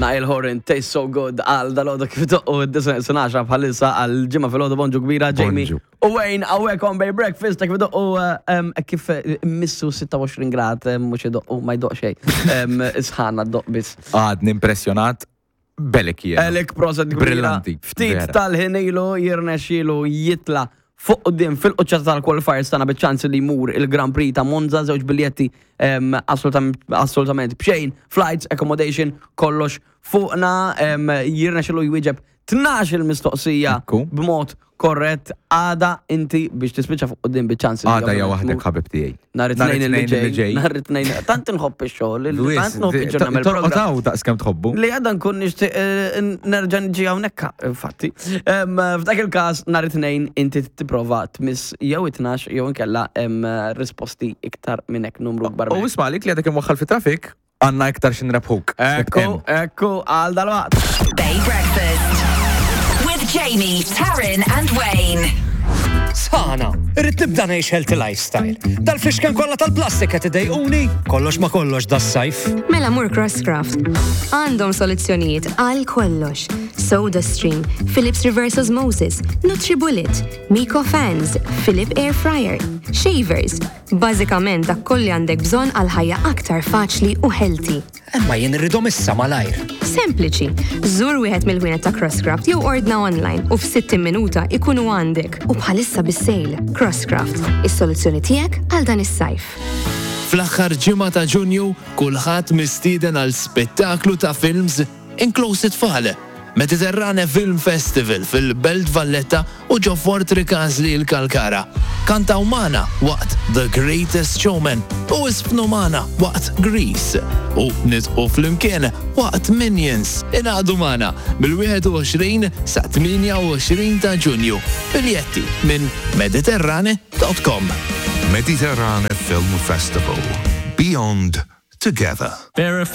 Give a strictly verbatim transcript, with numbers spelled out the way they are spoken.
Niall Horan, "Tastes So Good" għal dalgħodu kif doqqu d-disgħa għaxra bħalissa għal Ġimgħa filgħodu. Bonġu kbira, Jamie. Bonġu. U Wayne, hawnhekk on Bay Breakfast, kif doqqu em, kif missu sitta u għoxrin grad, em, mhux idoqqu, ma jdoqq xejn. Em, Isħana ddoqq biss. Għadni impressjonat belek jien. Elek, proset kbira. Brillanti, Ftit vera. tal-ħin ilu jirnexxielu jitla fuq quddiem fil-quċċata tal-qualifiers tagħna biċ-ċans li jmur il-Grand Prix ta' Monza, żewġ biljetti em, assolutament assolutament b'xejn, flights, accommodation, kollox fuqna. em, jirnexxielu jwieġeb tnax il-mistoqsija Ekku. b'mod korrett. Għada inti biex tispiċċa fuq quddiem biċ-ċans li Għada ja ovvjament waħdek, tmur. ħabib tiegħi. Nhar it-Tnejn li ġej. Nhar it-Tnejn. Tant inħobb ix-xogħol, li tant nħobb iġġorna Torqotaw daqs kemm tħobbu. li għadda nkun nixtieq eh, nerġa' niġi hawnhekk infatti. Em, F'dak il-każ nhar it-Tnejn inti tipprova tmiss jew it-tnax jew inkella em, risposti iktar minn hekk, numru kbar U minn hekk. isma' li għadek imwaħħal fi traffic, għandna iktar xi nrebħuk. Ekku, ekku, għal dalwaqt. Bay Breakfast. With Jamie, Taryn, and Wayne. Sana, irrid nibda ngħix healthy lifestyle. Dal-flixken kollha tal-plastik qed idejquni, kollox ma kollox das-sajf. Mela mur Crosscraft. Għandhom soluzzjonijiet għal kollox. Soda Stream, Philips Reverse Osmosis, NutriBullet, Miko Fans, Philips Air Fryer, Shavers. Bażikament dak kollu għandek bżonn għal ħajja aktar faċli u healthy. Imma jien irridhom issa malajr. Sempliċi, żur wieħed mill-ħwienet ta' Crosscraft jew ordna online u f'sittin minuta ikunu għandek u bħalissa bis-sale. Crosscraft, is-soluzzjoni tiegħek għal dan is-sajf. Fl-aħħar ġimgħa ta' Ġunju, kulħadd mistieden għal spettaklu ta' films, inkluż it-tfal. Mediterrane Film Festival fil-Belt Valletta u ġo Fort Ricasoli l-Kalkara. Kantaw magħna waqt The Greatest Showman u iżfnu magħna waqt Grease u nidħku flimkien waqt Minions. Ingħaqdu magħna mill-wieħed u għoxrin sa tmienja u għoxrin ta' Ġunju. Biljetti minn mediterrane punt com. Mediterrane Film Festival. Beyond Together.